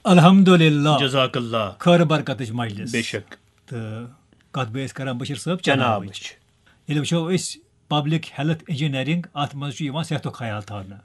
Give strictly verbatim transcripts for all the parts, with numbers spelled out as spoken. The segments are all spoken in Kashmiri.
الحمدللہ۔ جزاک اللہ۔ خٲر برکتٕچ مجلس۔ بے شک۔ تہٕ کتھ بٲتھ کران بشیر صٲب؟ چناوٕچ۔ چناوٕچ۔ ییٚلہِ وٕچھو أسۍ پبلک ہیلتھ انجینئرنگ، اتھ منٛز چھُ یِوان صحتُک خیال تھاونہٕ۔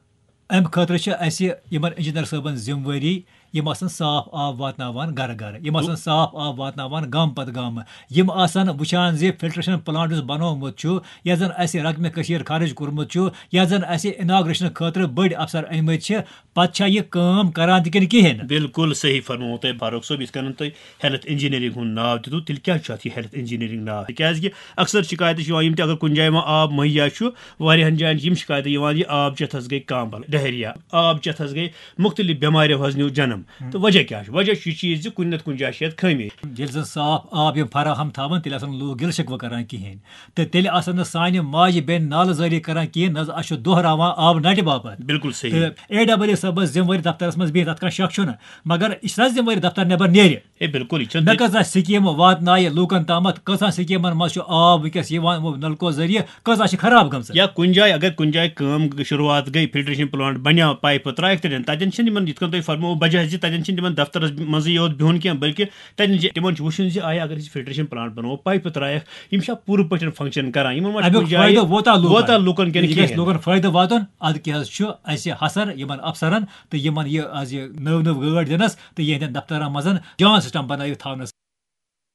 امہِ خٲطرٕ چھِ اسہِ یِمن انجینئر صٲبن ذمہٕ وٲری، یِم آسان صاف آب واتناوان گرٕ گرٕ، یِم آسان صاف آب واتناوان گامہٕ پتہٕ گامہٕ، یِم آسان وٕچھان زِ فلٹریشن پلانٹ یُس بنومُت چھُ، یتھ زن اسہِ رقمِ کثیر خرٕچ کوٚرمُت چھُ، یتھ زن اسہِ اناگریشن خٲطرٕ بٔڑۍ افسر أنۍ مٕتۍ چھِ، پتہٕ چھا یہِ کٲم کران تہِ کِنہٕ کِہیٖنۍ نہٕ؟ بالکل صحیح فرموو تۄہہِ فاروق صٲب، یِتھ کٔنۍ تۄہہِ ہیلتھ انجینئرنگ ہُنٛد ناو دیُتوٕ، تیٚلہِ کیٛازِ چھُ اَتھ یہِ ہیلتھ انجینئرنگ ناو؟ تِکیٛازِ کہِ اکثر شکایتہٕ چھِ یِوان، یِم تہِ اگر کُنہِ جایہِ وۄنۍ آب مہیا چھُ، واریاہن جاین چھِ یِم شکایتہٕ یِوان، یہِ آب چٮ۪تھ حظ گٔے کانٛبل، ڈہریا، آب چٮ۪تھ حظ گٔے مختلف بٮ۪مارِ حظ نیوٗ جنم۔ تہٕ وجہ کیٛاہ چھُ؟ وجہ چھُ یہِ چیٖز زِ کُنہِ نتہٕ کُنہِ جایہِ چھِ یتھ خٲمی۔ ییٚلہِ زن صاف آب یِم فراہم تھاوان، تیٚلہِ آسن لوٗکھ گِلہٕ شکوٕ کران کِہیٖنۍ، تہٕ تیٚلہِ آسن نہٕ سانہِ ماجہِ بیٚنہِ نالہٕ زٲری کران کِہیٖنۍ، نہ زِ اَسہِ چھُ دۄہراوان آب نٹہِ باپتھ۔ بالکل صحیح۔ تہٕ اے ڈبلیو صٲبس ذمہٕ وٲری دفترس منٛز بِہِتھ، تتھ کانٛہہ شک چھُنہٕ، مگر یہِ چھُنہ ذمہٕ وٲری دفتر نٮ۪بر نیرِ۔ ہے بالکل، یہِ چھُنہٕ مےٚ تہِ- کۭژاہ سکیٖمہٕ واتنایہِ لوٗکن تامتھ، کۭژاہ سکیٖمن منٛز چھُ آب وٕنکیٚس یِوان یِمو نلکو ذٔریعہٕ، کۭژاہ چھِ خراب گٔمژٕ؟ یا کُنہِ جایہِ اگر کُنہِ جایہِ کٲم شروٗعات گٔے، فلٹریشن پلانٹ بنیو، پایپہٕ ترایکھ تتٮ۪ن، تتٮ۪ن چھِنہٕ یِمن یِتھ کٔنۍ تۄہہِ فرموو بجہ زِ تتٮ۪ن چھِنہٕ تِمن دفترس منٛزٕے یوت بِہُن کینٛہہ، بلکہِ تتٮ۪ن چھِ تِمن چھُ وٕچھُن زِ آیا اگر أسۍ فلٹریشن پلانٹ بناوو، پایپہٕ ترایکھ، یِم چھا پوٗرٕ پٲٹھۍ فنکشن کران، یِمن ما چھُ امیُک کُنہِ جایہِ فٲیدٕ ووتاہ لوٗکن؟ ووتاہ لوٗکن کِنہٕ یہِ گژھِ کِہیٖنۍ؟ لوٗکن فٲیدٕ واتُن، ادٕ کیٛاہ حظ چھُ اسہِ حسر یِمن افسرن تہٕ یِمن یہِ از یہِ نٔو نٔو گٲڑۍ دِنس تہٕ یِہنٛدٮ۪ن دفترن منٛز جان سسٹم بنٲوِتھ تھاونس؟